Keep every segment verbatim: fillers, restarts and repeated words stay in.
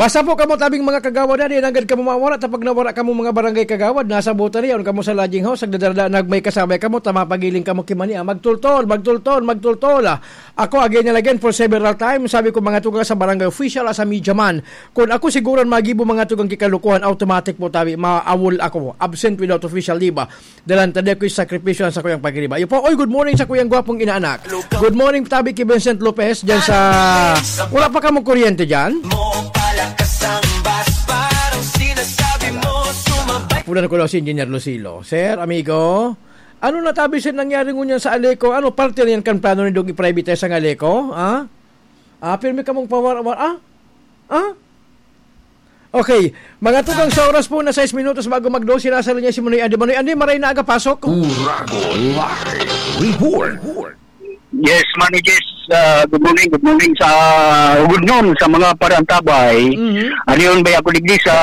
Asa po kamo tabing mga kagawad na, di nanggad kamo mawara, tapag nawara kamo mga barangay kagawad, nasa buta riyon kamo sa lodging house, nagdadarada, nagmay kasabay kamo, ta mapagiling kamo kimani, ah, magtultol, magtultol, magtultol, ah. Ako, again and again, for several times, sabi ko, mga tugang sa barangay official, as a media man, kung ako siguro ang magibo mga tugang kikalukuhan, automatic po tabi, maawol ako, absent without official, di ba? Dalan ta di ako'y sakripisyo sa kuyang pagriba. Iyo po, oy, good morning sa kuyang gwapong inaanak. Good morning, tabi ki Vincent Lopez, dyan sa, wala pa kamong kuryente dyan? Punan ko daw si Engineer Lucilo. Sir, amigo, ano na tabi sa nangyari ngunyan sa Aleco? Ano parte na yan kan plano nindong i-privatize ang Aleco? Ah? Ah, pirmi kamong pawar-, war-, ah? Ah? Okay. Mga tugang, sa oras po na sais minutos bago mag-dose, sinasalo niya si Manoy Andy. Manoy Andy, maray na aga pasok. Uragon Live Report. Yes, Manoy Jess, ah, good morning, good morning sa, good noon sa mga parantabay. Mhm. Ano yun ba ako digdi sa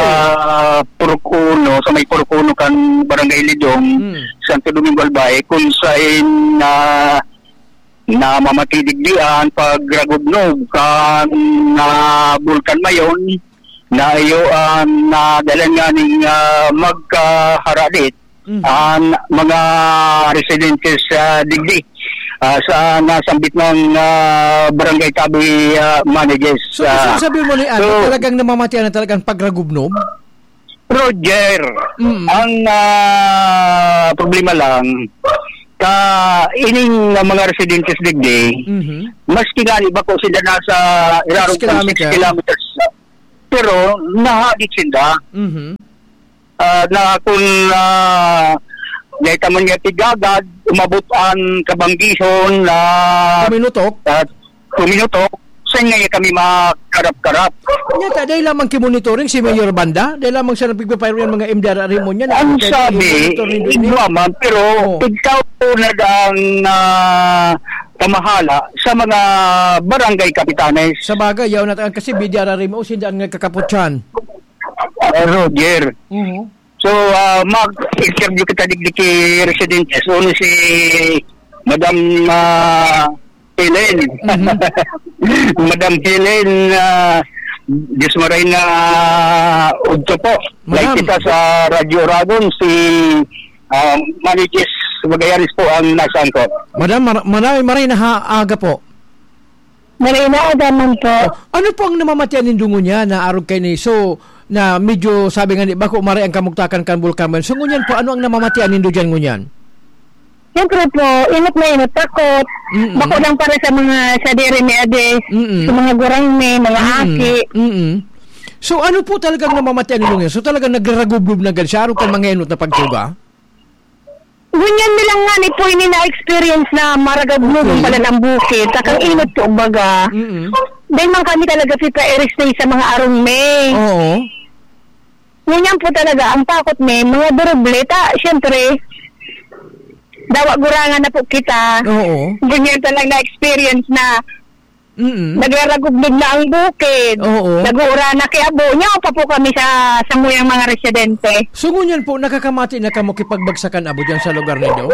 Purok Uno, sa may Purok Uno kan Barangay Lidong, Mm. Santo Domingo, Albay, kung saan, ah, namamati digdi an pagragubnob kan, ah, Bulkan Mayon na iyo an nadalan nga ning, ah, magkaharadit Mm. an mga residentes sa digdi, ah, sa nasambit ng, ah, barangay tabi, ah, managers. So, Ah, gusto sabihin mo ni ano, so, talagang namamatian na talagang pagragubnob? Roger, Mm. ang, ah, problema lang, ka ining mga residentes digdi, Mhm. maski nga ni bako sila nasa irarong Six kilometer. Six kilometers, pero nahagit sila. Mhm. Ah, na kung, ah, dahil ka man niya tigagad, umabot ang kabanggihon na Kuminutok? ah, kuminutok, saan nga kami makarap-karap? Nya ta, dahil lamang ki-monitoring si Mayor Banda, dahil lamang siya nagpigpapayro yung mga M D R R mo niya, Ang na-, sabi, monitor nindo ini? igwa man, pero Oo. ikaw po na daang, ah, pamahala sa mga barangay kapitanes. Sa bagay, yaw na ta-, kasi B D R R mo, sinda ang nagkakaputyan. Ah, Roger. Mhm. So, ah, mag-interview kita digdi ki residente. So, ano si Madam, ah, Helen? Mhm. Madam Helen, ah, Diyos maray na udto po. Madam. Like kita sa Radyo Uragon, si, ah, Manny Jess Magallanes po ang nasa angkop. Madam, mar-, maray, maray na ha-, aga po. Maray na aga man po. Oh, ano po ang namamatian nindo ngunyan na arog kaini? So, na medyo sabi nga ni bako maray ang kamugtakan kan Bulkan Mayon. So, ngunyan po, ano ang namamatian nindo diyan ngunyan? Siyempre po, inot na inot, takot. Mm-mm. Bako lang para sa mga sadiri mi adi, Mm-mm. sa mga gurang mi, mga Mm-mm. aki. Mm-mm. So, ano po talagang namamatian nindo ngayon? So, talagang nagraragublob na gad siya, arog kan mga inot na pagtuga? Ngunyan mi lang nga ni po ini na-experience na maragablob Okay. pala ang bukid. Takang Oo. inot po, baga. Mm-mm. Dahil man kami talaga si Paeris Day sa mga arong May. Oo. Ngunyan po talaga, ang takot may mga duruble. Ta, siyempre, dawa gurangan na po kita. Oo. Ngunyan talaga na-experience na Mm. Nagraragublob na ang bukid. Oo. Nag-uura na ki abo. Nyaw pa po kami sa samuyang mga residente. So, ngunyan po, nakakamati na kamo kipagbagsakan abo dyan sa lugar nindo?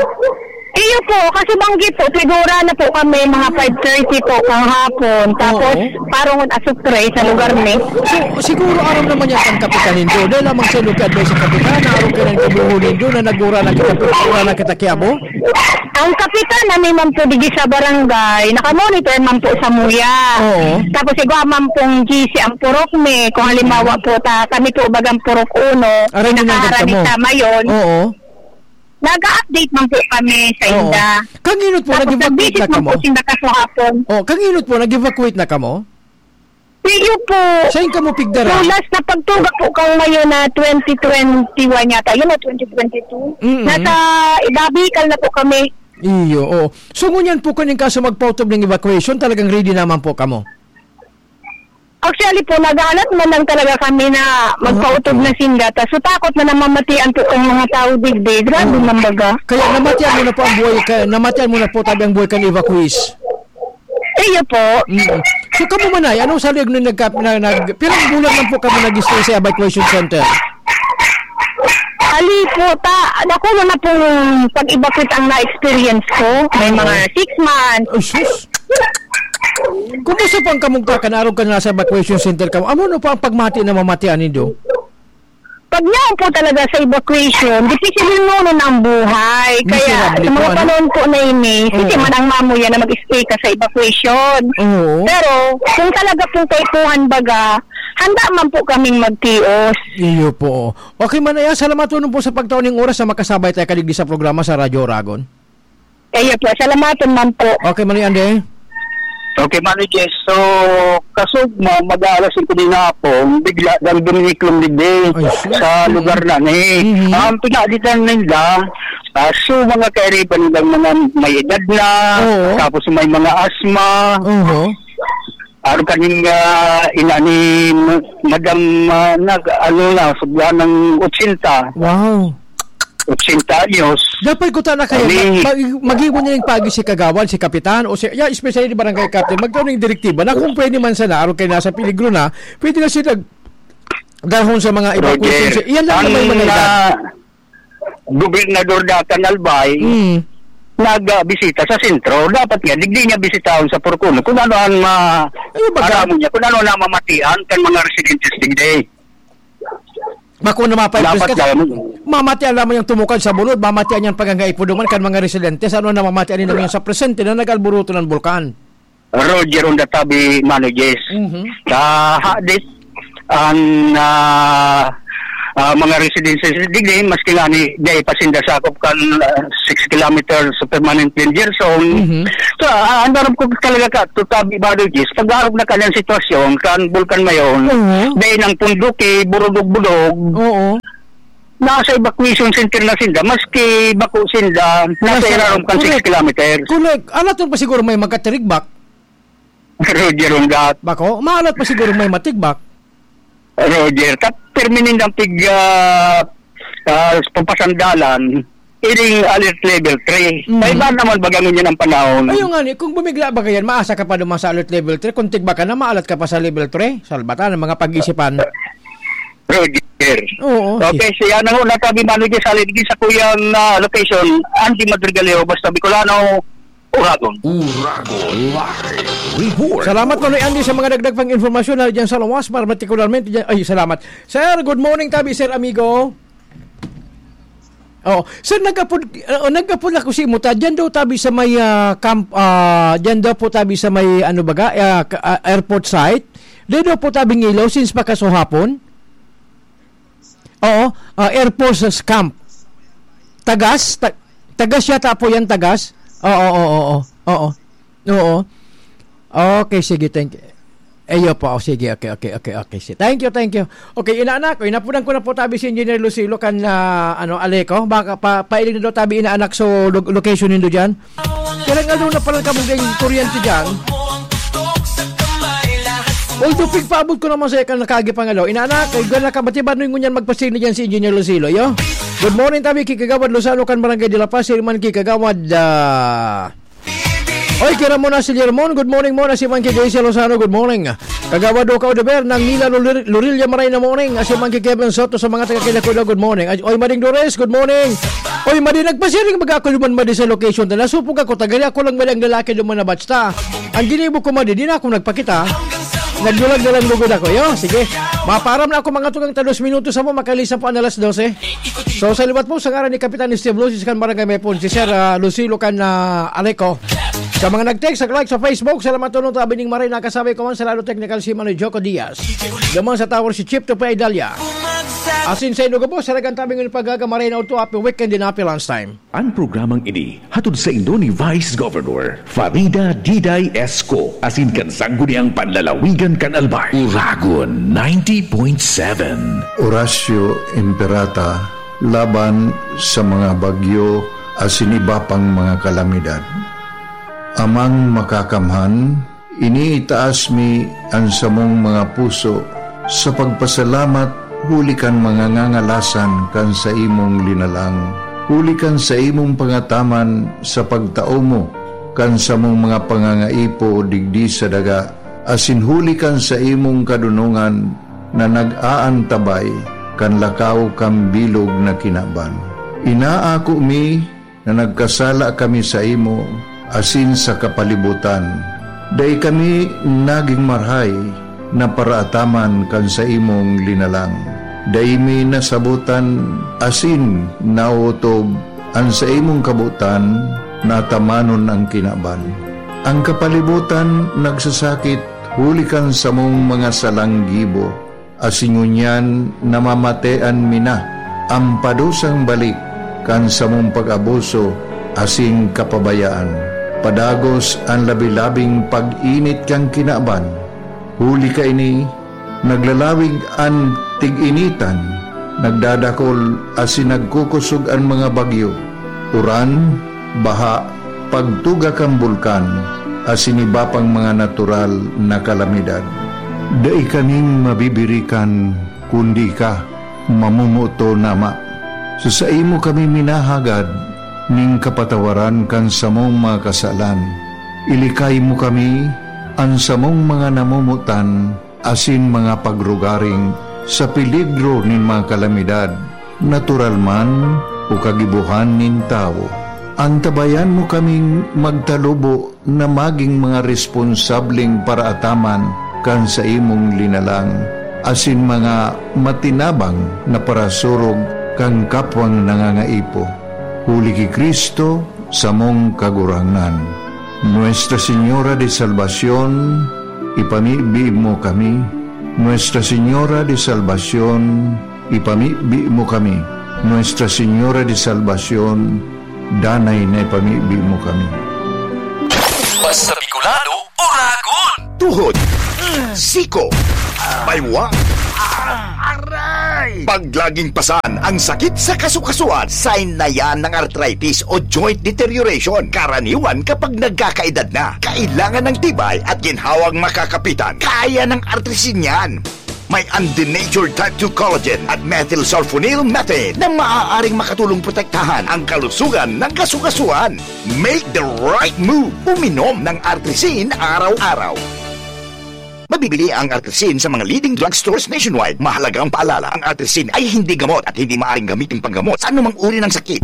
Iyo po, kasi banggi po, sigura na po kami mga five thirty po kang hapon. Tapos, Oo. parong asukre sa lugar ni. So, siguro aram naman yan ang kapitan nindo. Dahil lamang sa lugar sa kapitan, na aram ka ng kabuho nindo na nag-uura na kita, nag-uura na kita ki abo? Ang kapitan, kami man po digi sa barangay, nakamonitor man po sa muya. Oo. Tapos igwa man pong G C ang purok mi. Kung halimbawa po, ta, kami po bagang purok uno, Aray, nakaharani nandun kamo. sa Mayon. Oo. Nag-update man po kami sa Oo. inda. Kanino po, Tapos nag-evacuate nag-visit na man kamo? po sinda kasuhapon. Oh, kanino po, nag-evacuate na kamo? Iyo po. Saan kamo pigdara? So, last na pagtuga po kang Mayo na twenty twenty-one yata. Yun na, twenty twenty-two. Mm-mm. Nasa Idabikal na po kami. Iyo, oo. So, ngunyan po, kung yung kaso magpautob ng evacuation, talagang ready naman po kamo? Actually po, naghahanap man lang talaga kami na magpautob Ah, okay. na sinda. Ta, so, takot na namamatian po ang mga tao digdi. Grabe Oo. man baga. Kaya namatian mo na po ang buhay, ka-, namatian mo na po tabi ang buhay kan evacuees? Iyo po. Mm. So, kamo man ay, anong salig nung nagka-, na, nag-, pirang bulan man po kamo nag-stay sa evacuation center? Ali po, ta, nakuha na pong pag-evacuate ang na-experience ko. May Oo. mga six months. Ay, sus! Kumusta po ang kamugtakan, arog kan nasa evacuation center kamo? Ano po ang pagmati na mamatian nindo? Pag yaon po talaga sa evacuation, dipisil noon ang buhay. Kaya Miserable sa mga po, ano? panahon po na ini, Oo. sige man ang mamuya na mag-stay ka sa evacuation. Oo. Pero kung talaga pong kaipuhan baga, handa man po kaming magtios. Iyo po. Okay, Manay, ah, salamat po sa pagtao ning oras na makasabay tayo kadigdi sa programa sa Radyo Oragon. Kaya po, salamaton man po. Okay, Manay Andy. Okay, Manay Jess. So, kasugma, mag-aalas singko din hapon, bigla dang duminiklom digdi Ay, sus. sa lugar na ni. Mhm. Ang pinaditan ninda, ah, so mga kairiban nilang mga may edad na, Oo. tapos may mga asma. Oo. Araw kaning, ah, ina ni Ma-, Madam, ah, nag-, ano na, sobra ng ochenta. Wow. Ochenta anyos. Dapat ko ta na kaya, Ani? mag-, mag-, mag-iwan niya yung pagi si Kagawad, si Kapitan, o si, yeah, especially the barangay captain, magkaroon ng direktiba na kung pwede man sana, araw kayo nasa peligro na, pwede na sila dahon sa mga evacuation. Roger, Iyan lang ang naman yung mga edad. ah, gobernador datan Albay, Mm. nagbisita sa sentro. Dapat nga, digdi niya bisitahon sa Porcono. Kung ano ang ma-, Ano ba ka? alam niya, kung ano na mamatian kan mga residentes digdi. Bako na mapa-, Dapat kasi lang. mamatian lamang yung tumukad sa bulod, mamatian yung pagangaipo duman kan mga residentes. Ano na mamatian nila ngayon sa presente na nag-alboroto ng bulkan? Roger on the tabi, Mano Jess. Mhm. Sa hadit, ang, ah, ah, mga residences digdi, maski nga ni, dai pa sinda sakop kan, ah, six kilometers sa permanent danger zone. Mhm. So, ah, ang darab ko talaga ka, to tabi, Mano Jess, pag-arog na kanyang sitwasyon, kan Bulkan Mayon, Mhm. dai nang punduki, burudog-budog. Oo. Nasa evacuation center na sinda, maski bako sinda, nasa Nasa, irarom kan six correct. kilometers. Correct. Alat pa siguro may magkatirigbak. Roger, on that. Bako, maalat pa siguro may matigbak. Roger, ta-, pirmi nindang pig, ah, ah, papasandalan, iring alert level three. Mm. Kaya ba naman baga ngunyan ang panahon? Ayun nga ni, kung bumigla ba yan, maasa ka pa duman sa alert level three? Kung tigba ka na, maalat ka pa sa level three? Salbatan ang mga pag-isipan. Roger. Oo, Okay, si, siya na ho, natabi, Mano Jess, sa Ligis, sa kuyang, ah, location, Andy Madrigaleo, basta Bicolano, Uragon. Uragon Live Report. Salamat, Manoy Andy, sa mga dagdag pang impormasyon na dyan sa lawas, para partikularmente dyan. Ay, salamat. Sir, good morning, tabi, sir, amigo. Oh, sir, nagkapod, uh, nagkapod ako si Muta. Diyan daw tabi sa may, ah, camp, ah, diyan daw po tabi sa may, ano baga, ah, ka-, ah, airport site. Diyan daw po tabi ng ilaw since pa kasuhapon. Oo, ah, Air Force Camp. Tagas, ta-, Tagas yata po yan, Tagas. Oo, oo, oo, oo. Oo. Okay, sige, thank you. Ayo po, oh, sige, okay, okay, okay, okay. Si-, thank you, thank you. Okay, inaanak ko, inapunan ko na po tabi si Engineer Lucilo kan, ah, ano, Aleco. Baka pa, pailing na daw tabi inaanak, so lo-, location nindo dyan. Kailang aldaw na pala kamo ding kuryente dyan. Although, pigpaabot ko naman sa ikan nakagi pang aldaw. Inaanak, ay gana ka, batibad ngunyan magpasig na dyan si Engineer Lucilo, yo? Good morning, tabi, ki Kagawad Lozano kan Barangay de la Paz, si Herman ki Kagawad, ah, Oy, kira mo na si Lermon. Good morning mo na si Monkey Daisy Lozano. Good morning. Kagawad Oka Odeber ng Nila Luril-, Lurilla Maray na morning. Asi Monkey Kevin Soto sa mga taga Kilakuda. Good morning. Ay, oy, Mading Dores. Good morning. Oy, Mading, nagpasiring baga ako duman, Mading, sa location na nasupog ako. Tagari ako lang, Mading, ang lalaki duman na batch ta. Ang ginibo ko, Mading, di na ako nagpakita. Nagdulag na lang lugod ako. Yo, sige. Maparam na ako, mga tugang, ta dos minutos sa mo. Makalisa po ang alas dose. So, sa liwat po, sa ngaran ni Kapitan Steve Lucis kan Barangay Mepon, si Sir, ah, Lucilo kan, ah, Aleco. Sa mga nag-text, nag-like sa Facebook, salamat tuloy, tabi ning maray, nakasabay ko man sa lado technical si Manoy Joko Diaz. Duman sa tower si Chief Tupay Dalia. Asin sa inugo po, sa lagang tabi ng pagkakamaray na udto, happy weekend din, happy lunch time. Ang programang ini hatod saindo ni Vice Governor Farida Diday Esco asin kan Sangguniang Panlalawigan kan Albay. Uragon ninety point seven. Horacio Imperata laban sa mga bagyo asin iba pang mga kalamidad. Amang Makakamhan, iniitaas mi an samong mga puso sa pagpasalamat huli kan mga ngangalasan kan saimong linalang, huli kan saimong pangataman sa pagtao mo kan samong mga pangangaipo digdi sa daga, asin huli kan saimong kadonongan na nag-aantabay kan lakaw kan bilog na kinaban. Inaako mi na nagkasala kami saimo asin sa kapalibotan, Dai kami nagin marahay na paraataman kan saimong linalang. Dai mi nasabotan asin naotob an saimong kabotan na atamanon an kinaban. An kapalibotan nagsasakit huli kan samong mga salang gibo, asin ngunyan namamatean mi na an padusang balik kan samong pag-abuso asin kapabayaan. Padagos an labi-labing pag-init kan kinaban. Huli kaini, naglalawig an tig-initan, nagdadakol asin nagkukosog an mga bagyo, uran, baha, pagtuga kan bulkan, asin iba pang mga natural na kalamidad. Dai kaming mabibirikan, kundi ika, mamomoton, Ama. Sa saimo kami minahagad nin kapatawaran kan samong mga kasalan. Ilikay mo kami, an samong mga namomotan, asin mga pagrugaring sa peligro nin mga kalamidad, natural man o kagibohan nin tawo. Antabayan mo kaming magtalubo na magin mga responsableng paraataman kan saimong linalang, asin mga matinabang na parasurog kan kapwang nangangaipo. Huli ki Cristo, samong Kagurangnan. Nuestra Señora de Salvacion, ipamibi mo kami. Nuestra Señora de Salvacion, ipamibi mo kami. Nuestra Señora de Salvacion, danay na ipamibi mo kami. Basta Bicolano, Oragon! Tuhod, siko, baywa, aray! Pag laging pasan ang sakit sa kasukasuan, sign na yan ng arthritis o joint deterioration. Karaniwan kapag nagkakaedad na, kailangan ng tibay at ginhawang makakapitan. Kaya ng Artrisin yan. May undenatured type two collagen at methylsulfonyl methane na maaaring makatulong protektahan ang kalusugan ng kasukasuan. Make the right move. Uminom ng Artrisin araw-araw. Mabibili ang Artrisin sa mga leading drugstores nationwide. Mahalagang paalala, ang Artrisin ay hindi gamot at hindi maaaring gamitin panggamot sa anumang uri ng sakit.